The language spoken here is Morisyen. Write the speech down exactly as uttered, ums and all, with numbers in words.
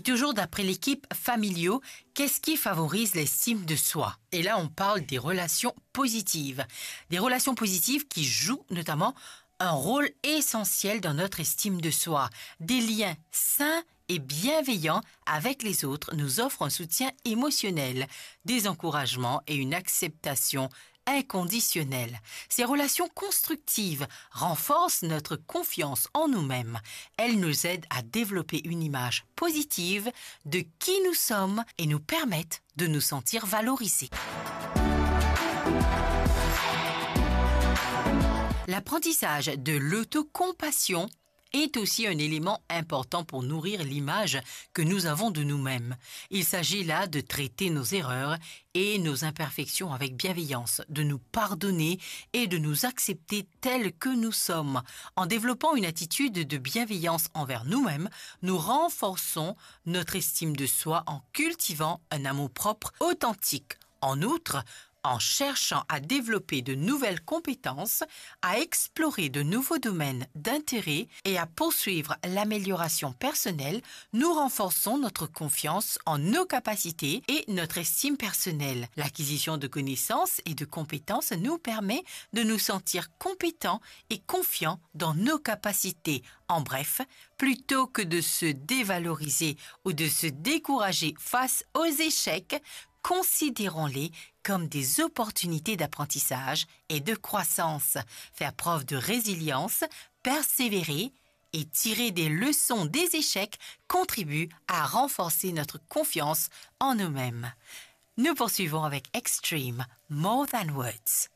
Toujours d'après l'équipe Familiaux, qu'est-ce qui favorise l'estime de soi ? Et là, on parle des relations positives. Des relations positives qui jouent notamment un rôle essentiel dans notre estime de soi. Des liens sains et bienveillants avec les autres nous offrent un soutien émotionnel, des encouragements et une acceptation inconditionnelle. Ces relations constructives renforcent notre confiance en nous-mêmes. Elles nous aident à développer une image positive de qui nous sommes et nous permettent de nous sentir valorisés. L'apprentissage de l'autocompassion est aussi un élément important pour nourrir l'image que nous avons de nous-mêmes. Il s'agit là de traiter nos erreurs et nos imperfections avec bienveillance, de nous pardonner et de nous accepter tels que nous sommes. En développant une attitude de bienveillance envers nous-mêmes, nous renforçons notre estime de soi en cultivant un amour-propre authentique. En outre, en cherchant à développer de nouvelles compétences, à explorer de nouveaux domaines d'intérêt et à poursuivre l'amélioration personnelle, nous renforçons notre confiance en nos capacités et notre estime personnelle. L'acquisition de connaissances et de compétences nous permet de nous sentir compétents et confiants dans nos capacités. En bref, plutôt que de se dévaloriser ou de se décourager face aux échecs, considérons-les comme des opportunités d'apprentissage et de croissance. Faire preuve de résilience, persévérer et tirer des leçons des échecs contribue à renforcer notre confiance en nous-mêmes. Nous poursuivons avec Extreme, More Than Words.